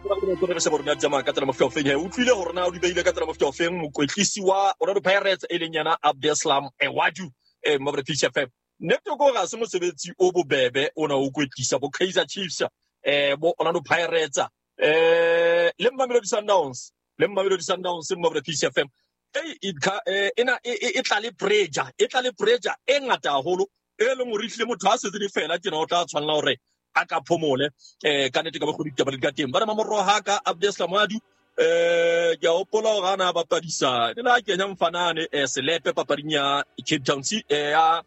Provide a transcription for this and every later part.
Re se borona tsamaya ka tsela mofuta ofeng he utlwile gore na o di beile ka tsela mofuta ofeng mokwetlisi wa Orlando Pirates e leng yena Abdeslam Ewadu Mabra Peace FM. Nnete ko ga se mosebetsi o bobebe o na o kwetlisa bo Kaizer Chiefs, bo Orlando Pirates, le Mamelodi Sundowns, le Mamelodi Sundowns Mabra Peace FM. Ena e tla le pressure, e tla le pressure e ngata haholo e leng hore ehlile motho ha setse di fela tjena o tla tshwanela hore a ka phomole ka nnete ka bokgoni ditaba di ka teng. Ba re mamorro ha ka Abdeslam Wadu, ke a hopola hore ana a bapadisa ne la kenya mfanane Selepe papading ya Cape Town ya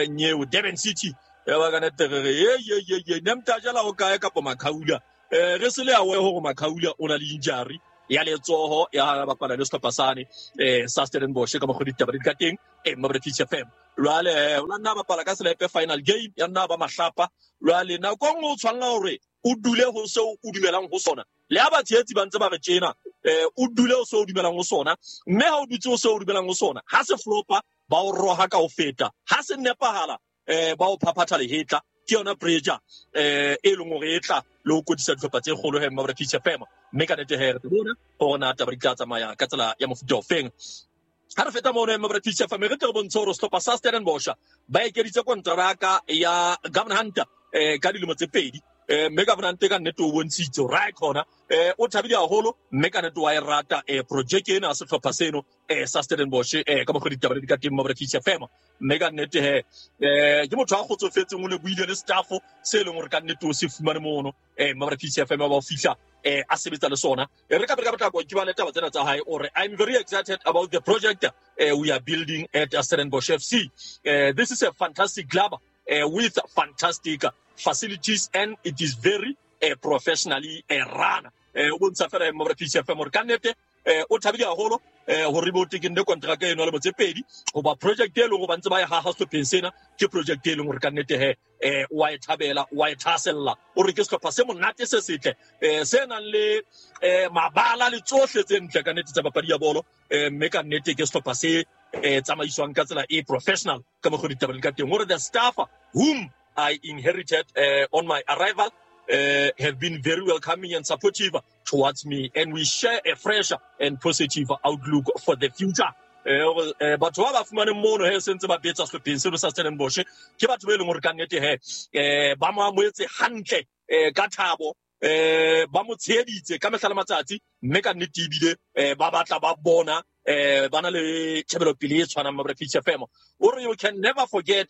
Nyeo Durban City ya ba ka nete re re ye ye ye ye ne mtajela ho kae kapa Makhaula, re se le a hore Makhaula o na le injury ya letsoho ya bapala le sehlopha sane sa Stellenbosch ka mokgwa ditaba di ka teng Mabra Peace FM. Jwale o la nna bapala ka Selepe final game ya nna ba mahlapa. Jwale nako e nngwe o tshwanela hore o dule ho seo o dumelang ho sona, le ha batshehetsi ba ntse ba re tjena, o dule ho seo o dumelang ho sona, mme ha o dutse ho seo o dumelang ho sona, ha se flopa ba o roha ka ho feta, ha se nepahala ba o phaphatha lehetla. Ke yona pressure e leng hore e tla le ho kwetlisa dihlopha tse kgolo he Mabra Peace FM. Mme ka nnete he re bona hore na taba di tla tsamaya ka tsela ya mofuta ofeng. Ha re feta mono Mabra Peace FM, re tle re bontshe hore sehlopha sa Stellenbosch ba ekeditse kontraka ya Gavin Hunter ka dilemo tse 2. Mme Gavin Hunter ka nnete o bontshitse hore ha e khona, o thabile haholo, mme ka nnete wa e rata project ena ya sehlopha seno sa Stellenbosch ka mokgwa ditaba di ka teng Mabra Peace FM. Mme ka nnete he ke motho a kgotsofetseng, o lebohile le staff se leng hore ka nnete o se fumane mono Mabra Peace FM ba o fihla a sebetsa le sona. Re ka ka potlako ke ba le taba tsena tsa hae, o re I'm very excited about the project we are building at Stellenbosch FC. This is a fantastic club with fantastic facilities and it is very professionally run. O bontsha fela Mabra Peace FM hore ka nnete o thabile haholo hore bo tekenne kontraka eno le motse pedi, hoba project e leng hore ba ntse ba e haha sehlopheng sena ke project e leng hore ka nnete he wa e thabela, wa e thahasella. O re ke sehlopha se monate se setle, se nang le mabala le tsohle tse ntle ka nnete tsa papadi ya bolo, mme ka nnete ke sehlopha se tsamaiswang ka tsela e professional ka mokgwa ditaba di ka teng. Hore the staff whom I inherited on my arrival have been very welcoming and supportive towards me, and we share a fresh and positive outlook for the future. Batho ba ba fumaneng mono he sentse ba betsa sehlopheng seno sa Stellenbosch ke batho ba e leng hore ka nnete he ba mo amohetse hantle ka thabo, ba mo tsheheditse ka mehla le matsatsi, mme ka nnete ebile ba batla ba bona ba na le tjhebelopele e tshwanang Mabra Peace FM. O re you can never forget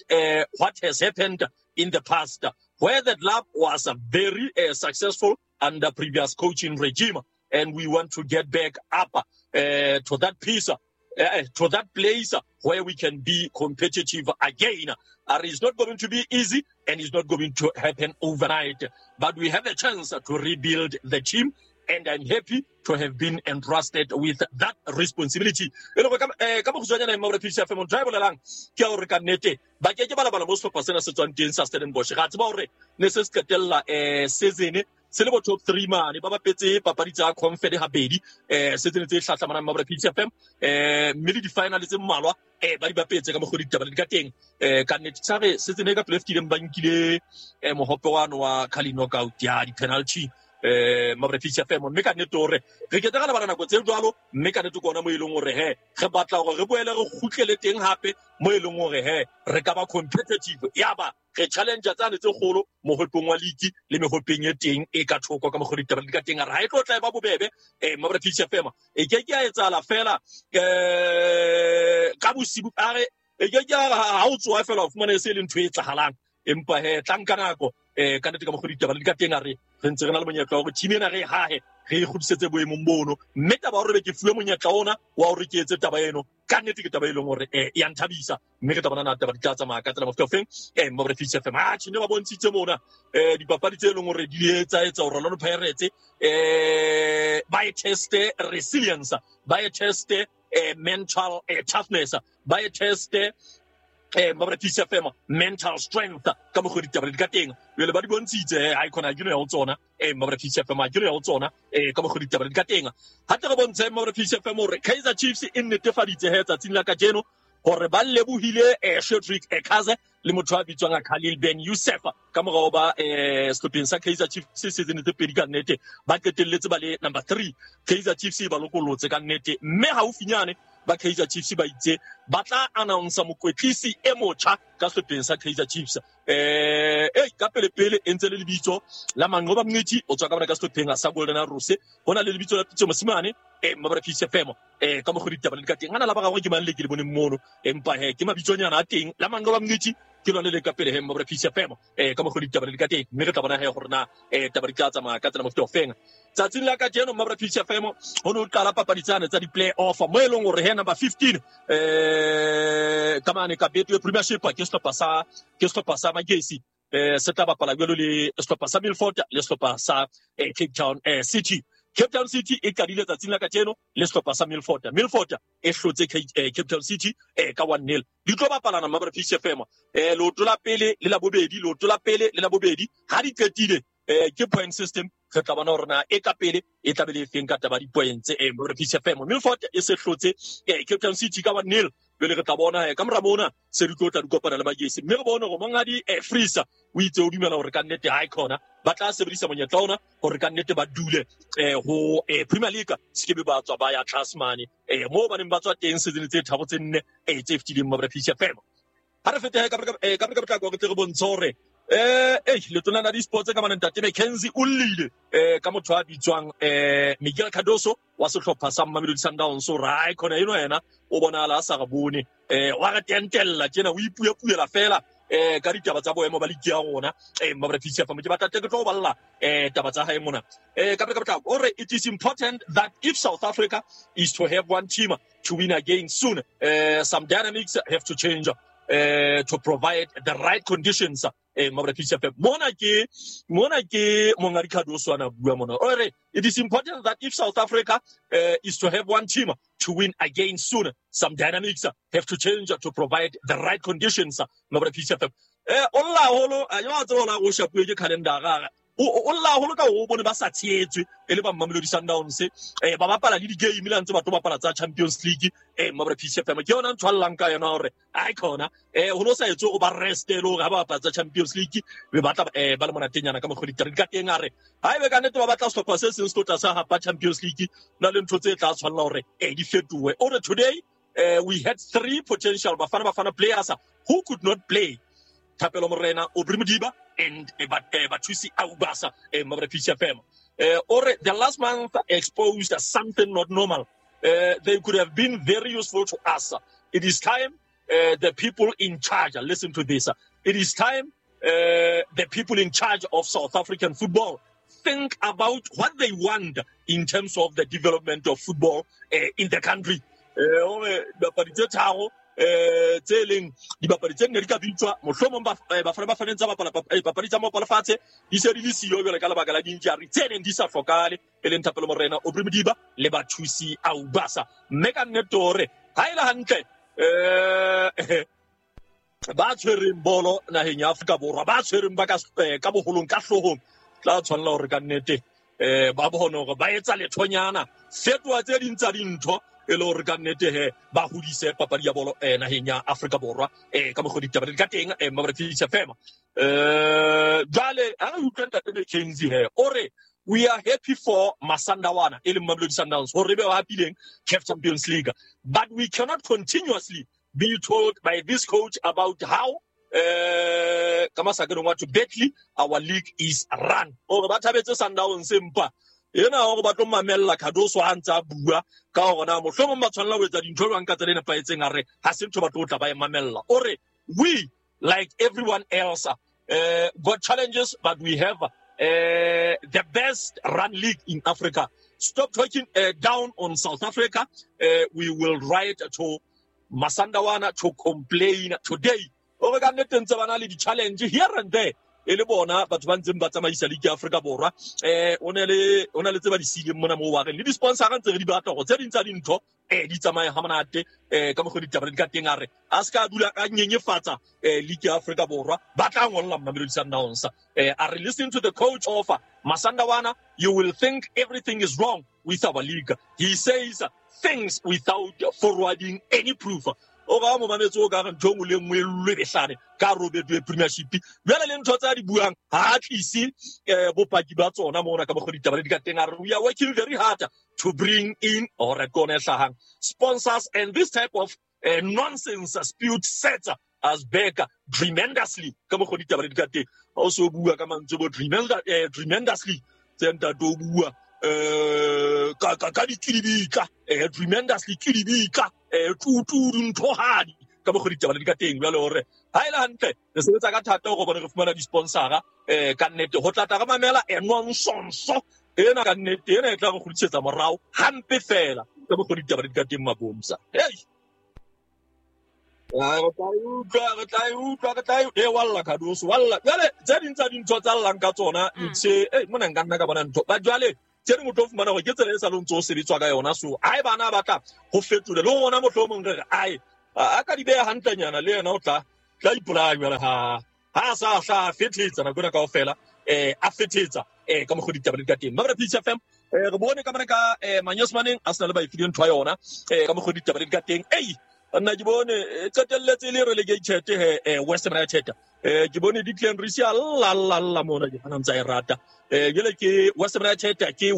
what has happened in the past, where the club was very successful under previous coaching regime, and we want to get back up to that piece, to that place where we can be competitive again. It's not going to be easy and it's not going to happen overnight, but we have a chance to rebuild the team, and I'm happy to have been entrusted with that responsibility. E le ka mokgutshwanyana Mabra Peace FM, motho a bolelang ke hore ka nnete ba ke ke ba lebala mo sehlopha sena se tswang teng sa Stellenbosch. Ga tseba hore ne se se qetella season se le bo top 3 mane, ba bapetse papadi tsa Confed habedi season tse hlahlamanang Mabra Peace FM, mme le di-final tse mmalwa ba di bapetse ka mokgwa ditaba di ka teng. Ka nnete sa re season e ka pele fetileng ba nkile mohope wa Carling Knockout ya di-penalty Mabra Peace FM. Mme ka nnete hore re ke tla lebala nako tse jwalo, mme ka nnete ke ona mo e leng hore he re batla hore re boele re kgutlele teng hape mo e leng hore he re ka ba competitive, ya ba re challenge tsane tse kgolo mohopeng wa league le mehopeng e teng e ka thoko ka mokgwa ditaba di ka teng. A re ha e tlo tla e ba bobebe Mabra Peace FM, e ke ke ya etsahala fela ka bosibu, a re e ke ke ha o tsoha fela o fumane se e leng ntho e etsahalang, empa he tla nka nako ka nnete ka mokgwa ditaba di ka teng. A re re ntse re na le monyetla wa hore team ena re e hahe, re e kgutlisetse boemong bono, mme taba ya hore be ke fuwe monyetla ona wa hore ke etse taba eno ka nnete ke taba e leng hore ya nthabisa, mme re tla bona na taba di tla tsamaya ka tsela mofuta ofeng Mabra Peace FM. Atjhe, ne ba bontshitse mona dipapadi tse leng hore di etsa etsa hore Orlando Pirates ba e teste resilience, ba e teste mental toughness, ba e teste Mabra Peace FM mental strength ka mokgwa ditaba di ka teng. Jwale ba di bontshitse ha e khona ke no ya ho tsona Mabra Peace FM, ha ke no ya ho tsona ka mokgwa ditaba di ka teng. Ha tle re bontshe Mabra Peace FM hore Kaizer Chiefs e nnetefaditse he tsatsing la kajeno hore ba lebohile Cedric Ekaze. le motho a bitswang Khalil Ben Youssef ka morao ba sehlopheng sa Kaizer Chiefs season tse pedi ka nnete ba qetelletse ba le number 3. Kaizer Chiefs e ba lokolotse ka nnete, mme haufinyane ba Kaizer Chiefs ba itse ba tla announce mokwetlisi e motjha ka sehlopheng sa Kaizer Chiefs. Ka pele pele e ntse le lebitso la Manqoba Mngqithi o tswa ka bona ka sehlopheng sa Golden Arrows. Ho na le lebitso la Pitso Mosimane Mabra Peace FM ka mokgwa ditaba le ka teng ana la ba gagwe ke mang le ke le boneng mono, empa he ke mabitsonyana a teng la Manqoba Mngqithi ke lone le ka pele he Mabra Peace FM ka mokgwa ditaba le ka teng, mme re tla bona he gore na taba di tla tsamaya ka tsela mofuta ofeng. Tsatsing la kajeno Mabra Peace FM ho ne ho qala papadi tsane tsa di-play off mo e leng hore he number 15 ka mane ka Betway Premiership ke sehlopha sa Magesi se tla bapala jwalo le sehlopha sa Milford le sehlopha sa Cape Town City. Cape Town City e qadile tsatsing la kajeno le sehlopha sa Milford. Milford e hlotse Cape Town City ka 1-0. Di tlo bapalana Mabra Peace FM leoto la pele le la bobedi, leoto la pele le la bobedi ha di qetile ke point system. Re tla bona hore na e ka pele e tla be le efeng ka taba di-points. Mabra Peace FM Milford e se hlotse Cape Town City ka 1-0. Jwale re tla bona ka mora mona se di tlo tla di kopana le Magesi, mme re bone hore monghadi Freezer o itse o dumela hore ka nnete ha e khona ba tla sebedisa monyetla ona hore ka nnete ba dule ho Premier League, se ke be ba tswa ba ya tlase mane moo ba neng ba tswa teng season tse tharo tse nne tse fetileng Mabra Peace FM. Ha re fete ka potlako re tle re bontshe hore letona la di-sports ka mane ntate McKenzie o llile ka motho a bitswang Miguel Cardoso wa sehlopha sa Mamelodi Sundowns. O re khona eno yena o bonahala a sa re bone, wa re tentella tjena o ipuepuela fela ka ditaba tsa boemo ba ligi ya rona Mabra Peace FM. Ke batla ke tlo balla taba tsa hae mona ka potlako. O re it is important that if South Africa is to have one team to win again soon, some dynamics have to change to provide the right conditions. Mabra Peace FM mona ke Monghadi Cardoso ana bua mona. O re it is important that if South Africa is to have one team to win again soon, some dynamics have to change to provide the right conditions. Mabra Peace FM o lla haholo a tseba hore o shapuwe ke calendar. O lla haholo ka o bone ba sa tshehetswe e le ba Mamelodi Sundowns ba bapala le di-game le ntse ba tlo bapala tsa Champions League Mabra Peace FM. Ke yona ntho a llang ka yona hore ai khona ho no sa etswe o ba rest le hore ha ba bapala tsa Champions League be batla ba le monatenyana ka mokgwa ditaba ka teng. A re ha ebe ka nnete ba batla sehlopha se seng se tlo tla sa hapa Champions League na le ntho tse tla tshwanela hore di fetohe. O re today we had 3 potential Bafana players who could not play: Thapelo Morena, Aubrey Modiba and Bathusi Aubasa. Mabra Peace FM. Or the last month exposed something not normal. They could have been very useful to us. It is time the people in charge, listen to this. It is time the people in charge of South African football think about what they want in terms of the development of football in the country. Dipapadi tse tharo tse leng dibapadi tse nne di ka bitswa mohlomong Bafana Bafana tsa bapala papadi tsa mopala fatshe di se di le siyo jwale ka lebaka la di-injury tse neng di sa hlokahale, e leng Thapelo Morena, Aubrey Modiba le Bathusi Aubasa. Mme ka nnete hore ha e le hantle ba tshwereng bolo naheng ya Afrika Borwa, ba tshwereng ba ka boholong ka hloohong tla tshwanela hore ka nnete ba bone hore ba etsa lethonyana fetoha tse ding tsa dintho e le hore ka nnete he ba hodise papadi ya bolo naheng ya Afrika Borwa ka mokgwa ditaba di ka teng Mabra Peace FM. Jwale ha re utlwa ntate McKenzie he o re we are happy for Masandawana e leng Mamelodi Sundowns hore be ba hapileng CAF Champions League, but we cannot continuously be told by this coach about how ka masakeng wa to badly our league is run. O re ba thabetse Sundowns empa ena hore ba tlo mamella Cardoso ha ntse a bua ka hore na mohlomong ba tshwanela ho etsa dintho jwang ka tsela e nepahetseng, a re ha se ntho ba tlo tla ba e mamella. O re we like everyone else got challenges, but we have the best run league in Africa. Stop talking down on South Africa. We will write to Masandawana to complain today. O re ka nnete ntse ba na le di-challenge here and there e le bona batho ba ntseng ba tsamaisa league ya Afrika Borwa. O na le tse ba di siileng mona moo wa reng le di-sponsor ntse re di batla hore tse ding tsa dintho di tsamaye ha monate ka mokgwa ditaba di ka teng. A re a se ka dula ka nyenyefatsa league ya Afrika Borwa, ba tla ngolla Mamelodi Sundowns. A re listen to the coach of Masandawana, you will think everything is wrong with our league. He says things without forwarding any proof. O ga mo mametse o ka re ntho nngwe le nngwe e lwebehlane ka hare ho Betway Premiership. Jwale le ntho tsa di buang ha a tlise bopaki ba tsona mona ka mokgwa ditaba le di ka teng. A re we are working very hard to bring in or ke yona e hlahang sponsors, and this type of nonsense spewed sets us back tremendously ka mokgwa ditaba le di ka teng. Ha o so bua ka mantswe bo tremendously tse ntate o bua ka dikilibitla, tremendously kilibitla, tutu nthohadi ka mokgwa ditaba le di ka teng. Jwale hore ha e le hantle re sebetsa ka thata hore bone re fumana di-sponsora, ka nnete ho tla tla re mamela nonsense ena ka nnete ena e tla re kgutlisetsa morao hampe fela ka mokgwa ditaba le di ka teng mabomsa. Hey, re tla e utlwa, re tla e utlwa, re tla e e walla Khadoso, walla. Jwale tse ding tsa dintho tsa llang ka tsona, ntse mona nka nna ka bona ntho. Ba jwale tse ding o tlo fumana hore ke tsela e sa lo ntso o sebetswa ka yona. So hae bana ba tla ho fetola le rona mohlomong re re ai a ka di beha hantlenyana le yena o tla ipolaya jwale ha a sa hla fethetsa nako ena kaofela, a fethetsa ka mokgwa ditaba di ka teng. Mabra Peace FM, re bone ka mane ka manyesemaneng a sena le ba e fileng ntho ya yona, ka mokgwa ditaba di ka teng. Ei nna ke bone qetelletse le relegated he West Ham United. Ke bone Declan Rice a lla lla lla mona ke ana ntsa e rata. Jwale ke West Ham United ke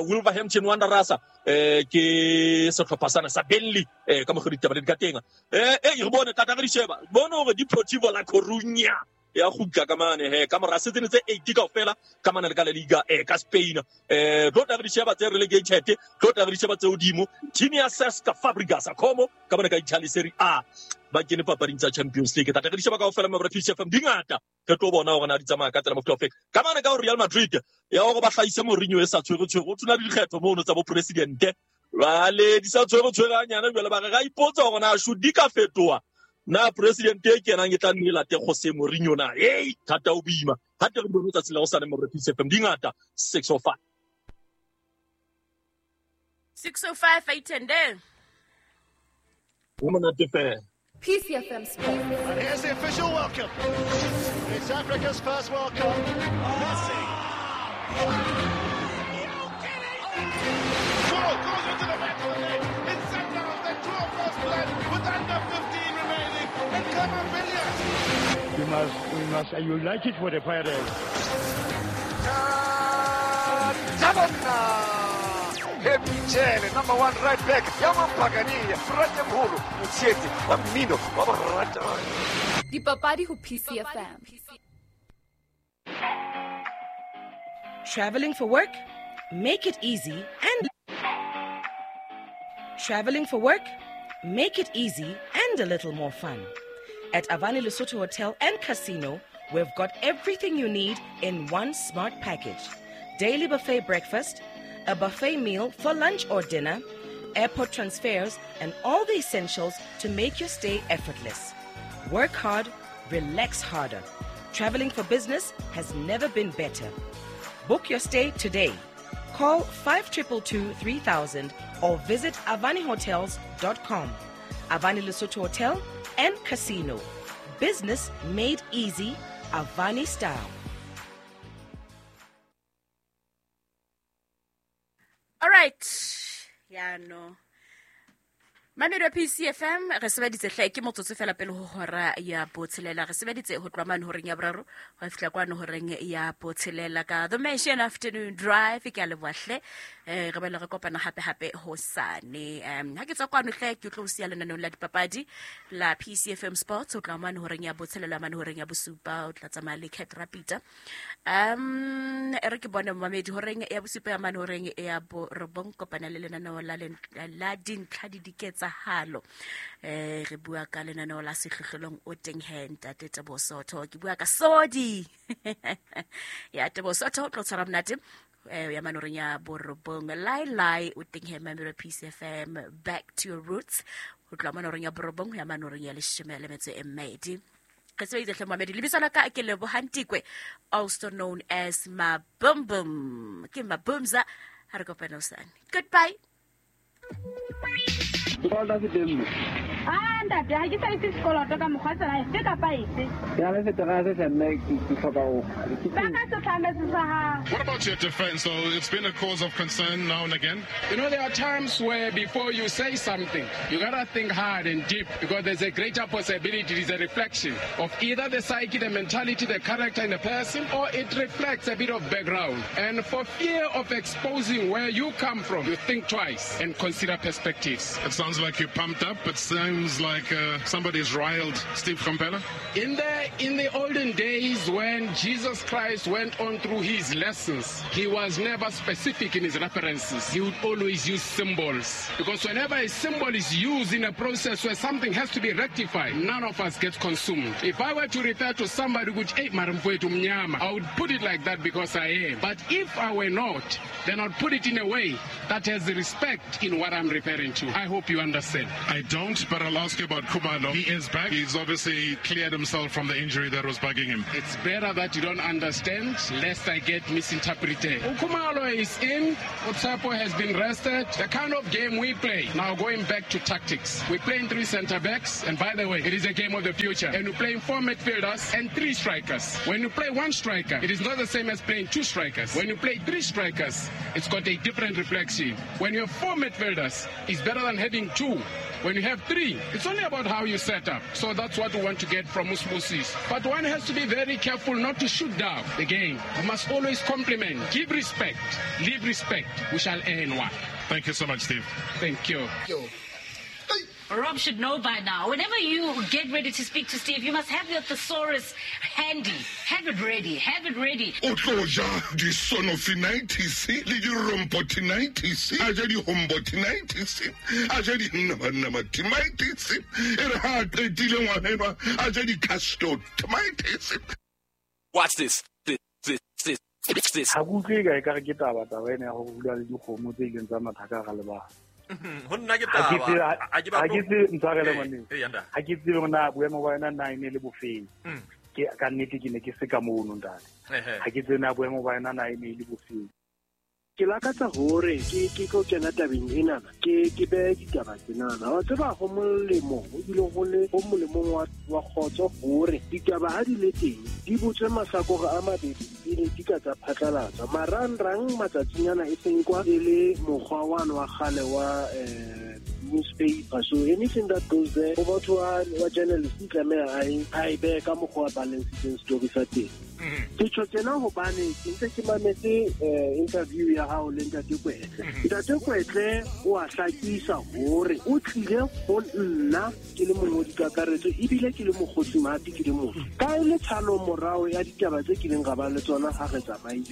Wolverhampton Wanderers, ke sehlopha sana sa Burnley, ka mokgwa ditaba di ka teng. Re bone tata re di sheba bone hore Deportivo La Coruña ya kgutla ka mane he ka mora season tse 8 kaofela ka mane le ka la Liga ka Spain. Tlo tla re di sheba tse relegated, tlo tla re di sheba tse hodimo. Team ya Cesc Fabregas Como ka mane ka Italy Serie A ba kene papading tsa Champions League. Tata re di sheba kaofela mabra Peace FM di ngata, re tlo bona hore na di tsamaya ka tsela mofuta ofe. Ka mane ka Real Madrid ya hore ba hlahise Mourinho e sa tshwere tshwere, o tshwana le dikgetho mono tsa bo presidente jwale di sa tshwere tshwere hanyane. Jwale ba re ra ipotsa hore na should di ka fetoha na president e kenang e tla nne late Jose Mourinho na. Hey, thata o boima ha te re bone tsatsi la ho sane mabra Peace FM di ngata. 6:05 6:05 8:10 o monate fela. Peace FM Sports. And here's the official welcome. It's Africa's first World Cup. Messi. Goal goes into the back of the net. It's Sundowns that draw first blood with under 15 remaining. And come on, Villiers. We must unite it for the Pirates. Michele, number 1 right back. Yaman Pagani, Frate Mholo, Mutseti, wa mmino, wa borata. Dipapadi ho PCFM. Traveling for work? Make it easy and Traveling for work? Make it easy and a little more fun. At Avani Lesotho Hotel and Casino, we've got everything you need in one smart package. Daily buffet breakfast, a buffet meal for lunch or dinner, airport transfers, and all the essentials to make your stay effortless. Work hard, relax harder. Traveling for business has never been better. Book your stay today. Call 5222 3000 or visit avanihotels.com. Avani Lesotho Hotel and Casino. Business made easy, Avani style. All right. Yeah, no. Mamedi wa PCFM re sebeditse hle ke motsotso fela pele ho hora ya botshelela. Re sebeditse ho tloha mane horeng ya boraro ho fihla kwano horeng ya botshelela ka The Mansion Afternoon Drive. Ke a leboha hle, re bele re kopana hape hape hosane. Ha ke tswa kwano hle ke tlo siya lenaneong la dipapadi la PCFM Sports ho tloha mane horeng ya botshelela mane horeng ya bosupa o tla tsamaya le Cat Rapita. Re ke bone mamedi horeng ya bosupa ya mane horeng ya borobong kopana le lenaneo la dintlha di diketsa halo. Re bua ka lenaneo la sehlohlolong o teng he ntate Teboho Sotho. Ke bua ka Sodi ya Teboho Sotho o tlo tshwara monate ya manoreng ya borobong. Lai lai o teng he mamelo Peace FM back to your roots ho tloha manoreng ya borobong ya manoreng ya 12. Re sebeditse hle mamedi. Lebitso la ka ke Lebohang Tikwe, also known as Mabumbum. Ke Mabumza. Ha re kopane hosane. Goodbye. Nka Ah ntate, ha ke sa itse sekoloto ka mokgwa tsela efe kapa efe. Ke na le seterase hle mme ke hloka ho. Ba ka se tlametse sa hao. What about your defense though? It's been a cause of concern now and again. You know, there are times where before you say something, you gotta think hard and deep because there's a greater possibility it is a reflection of either the psyche, the mentality, the character in the person, or it reflects a bit of background. And for fear of exposing where you come from, you think twice and consider perspectives. It sounds like you're pumped up. It sounds like somebody's riled Steve Komphela. In the olden days when Jesus Christ went on through his lessons, he was never specific in his references. He would always use symbols. Because whenever a symbol is used in a process where something has to be rectified, none of us gets consumed. If I were to refer to somebody who I would put it like that because I am. But if I were not, then I'd put it in a way that has respect in what I'm referring to. I hope you understand. I don't, but I'll ask you about Khumalo. He is back. He's obviously cleared himself from the injury that was bugging him. It's better that you don't understand, lest I get misinterpreted. Khumalo is in. Otsapo has been rested. The kind of game we play, now going back to tactics, we're playing 3 centre-backs, and by the way, it is a game of the future. And we're playing 4 midfielders and 3 strikers. When you play 1 striker, it is not the same as playing 2 strikers. When you play 3 strikers, it's got a different reflection. When you have 4 midfielders, it's better than having 2. When you have 3, it's only about how you set up. So that's what we want to get from Usbusis. But one has to be very careful not to shoot down the game. We must always compliment, give respect, leave respect. We shall earn one. Thank you so much, Steve. Thank you. Rob should know by now. Whenever you get ready to speak to Steve, you must have your thesaurus handy. Have it ready. Have it ready. O tlo ja disonofinitis le dirompotinitis, a ja dihombotinitis, a ja dinamatitis, e re ha qetile ngwana enwa, a ja dicastotomitis. Watch this. This. Ha ke utlwe ka ekare ke taba ena ya ho bula le dikgomo tse ileng tsa matha ka hara lebala. Ho nna ke taba. Ha ke tsebe ntshwarele ngwaneng. Ha ke tsebe hore na boemo ba yona na e ne le bofeng. Ke ka nnete ke ne ke se ka mono ntate. Ha ke tsebe na boemo ba yona na e ne le bofeng. Ke lakatsa hore ke tlo kena tabeng enana, ke behe ditaba tsenana. Wa tseba ho molemo, ebile ho le ho molemong wa kgotso hore ditaba ha di le teng di botswe mahlakore a mabedi pele di ka tsa phatlalatswa. Marangrang matsatsing ana e seng kwa e le mokgwa wane wa kgale wa newspaper. So anything that goes there, ho batho wa journalist e tlameha a e behe ka mokgwa wa balancing story sa teng. Ke tjho tjena hobane ke ntse ke mametse interview ya hao le Ntate Kwetle. Ntate Kwetle o a hlakisa hore o tlile ho nna ke le mongodi kakaretso ebile ke le mokgotsi mahapi ke le motho. Ka e le tshalo morao ya ditaba tse kileng ra ba le tsona ha re tsamaile.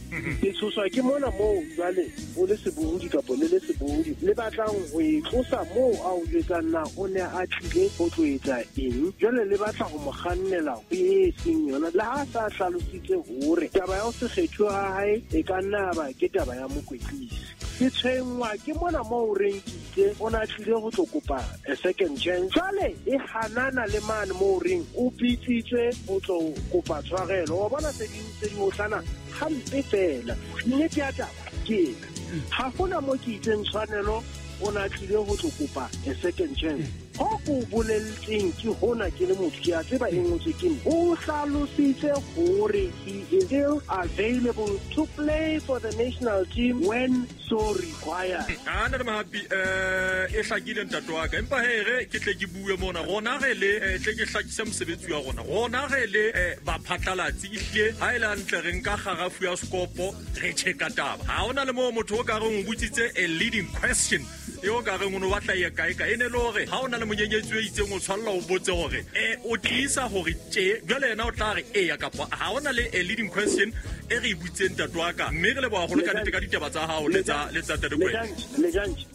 Ke tshoswa ke mona moo jwale o le sebohodi kapa le le sebohodi le batlang ho e tlosa moo a o jwetsang na o ne a tlile ho tlo etsa eng. Jwale le batla ho mo kgannela ho e seng yona. Le ha sa hlalositse hore taba ya ho se kgethwe ha hae e ka nna ba ke taba ya mokwetlisi. Ke tshwenngwa ke mona moo o reng ke itse o na tlile ho tlo kopa a second chance. Jwale e hanana le mane moo o reng o bitsitswe ho tlo kopa tshwarelo. Wa bona tse ding tse di otlana hampe fela. Nnete ya taba ke ena. Ha hona mo ke itseng tshwanelo o na tlile ho tlo kopa a second chance. Ho ko bolelletseng ke hona ke le motho ke a tseba e ngotswe ke nna. O hlalositse hore he is still available to play for the national team when so required. Ana le mahapi e hlakile ntate wa ka. Empa he re ke tle ke bue mona rona re le tle ke hlakise mosebetsi wa rona. Rona re le ba phatlalatsi ehlile ha ile hantle re nka kgarafu ya skopo re checka taba. Ha hona le mo motho o ka reng o botsitse a leading question eo ka reng o no batla ye kae ka ene le hore ha hona le monyenyetsi o itseng o tshwalla o botse hore o tiisa hore tje jwale yena o tla re eya kapa ha hona le a leading question e re butseng ntate wa ka mme re leboha haholo ka nnete ka ditaba tsa hao le tsa Ntate Kwetle.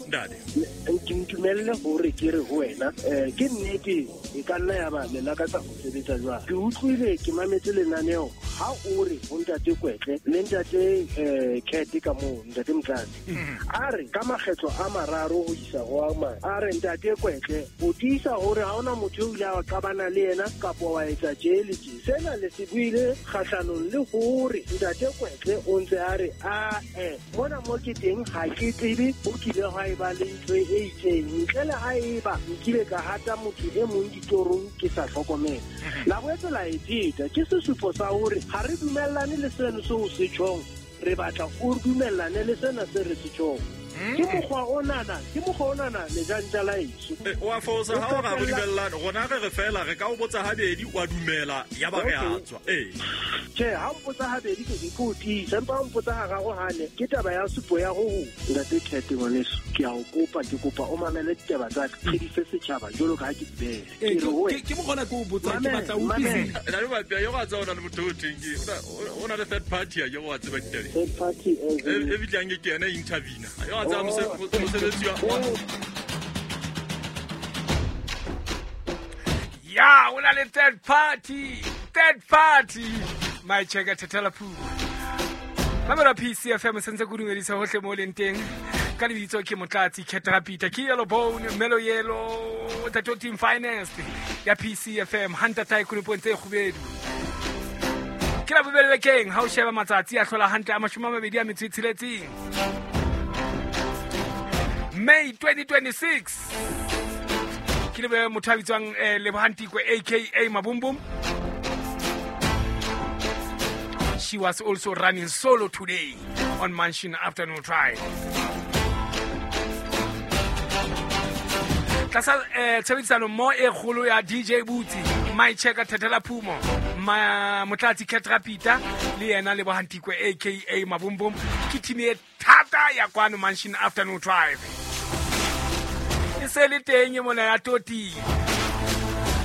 Ntate ke ntumelle hore ke re ho wena ke nnete e ka nna ya ba le lakatsa ho sebetsa jwang. Ke utlwile ke mametse lenaneo ha o re ho Ntate Kwetle le Ntate Kete ka moo Ntate Mtlatse a re ka makgetlo a mararo mararo ho isa ho a mane. A re ntate Kwetle, o tiisa hore ha hona motho eo ile a qabana le yena kapa wa etsa tje le tje. Sena le se buile kgahlanong le hore ntate Kwetle o ntse a re a mona mo ke teng ha ke tsebe o kile hwa eba le ntho e itseng ntle le ha eba nkile ka hata motho e mong ditorong ke sa hlokomela. La boetse la e pheta, ke sesupo sa hore ha re dumellane le seno seo se tjhong, re batla o dumellane le sena se re se tjhong. Ke mokgwa onana lejantja la eso. O a fosa ha o ra re dumellane, rona re re fela re ka o botsa habedi wa dumela ya ba re a tswa. Tjhe, ha o mpotsa habedi ke ke o tiisa, empa ha o mpotsa hararo hane ke taba ya supo ya ho ntate Khethe ngwaneso, ke a o kopa, ke kopa o mamele ditaba tsa ka, re di fe setjhaba jwalo ka ha ke di beha. Ke re ho wena. Ke mokgona ke o botsa, ke batla o utlwisise. Na le batla yo ga tsa ona le motho o teng ke o na le third party ya yo wa tseba ditaba. Third party e bitlang ke yena intervene. Yo ga tsa mosebetsi wa Ya, o na le third party. Third party. My checker Thatela Phumo. Mamela PCFM sentse go dumedisa hohle mo leng teng. Ka lebitso ke Motlatsi Ketrapita, ke Yellow Bone, Melo Yellow, Tato Team Finance ya PCFM, Hunter Tycoon Pontse Kgubedu. Ke la bobedi bekeng ha o sheba matsatsi a hlola hantle a 26. May 2026. Ke lebe motho a bitswang Lebohantikwe aka Mabumbum. She was also running solo today on Mansion Afternoon Drive. Tlasa tshebedisano mo e kgolo ya DJ Bootsy, My Checker Thatela Phumo, Motlatsi Ketrapita le yena Lebohantikwe aka Mabumbum, ke team e thata ya kwano Mansion Afternoon Drive. E se le teng mona ya Toti.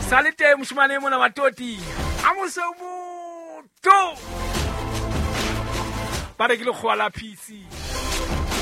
Sa le teng moshemane mona wa Toti. A mose motho. Ba re ke lekgowa la PC.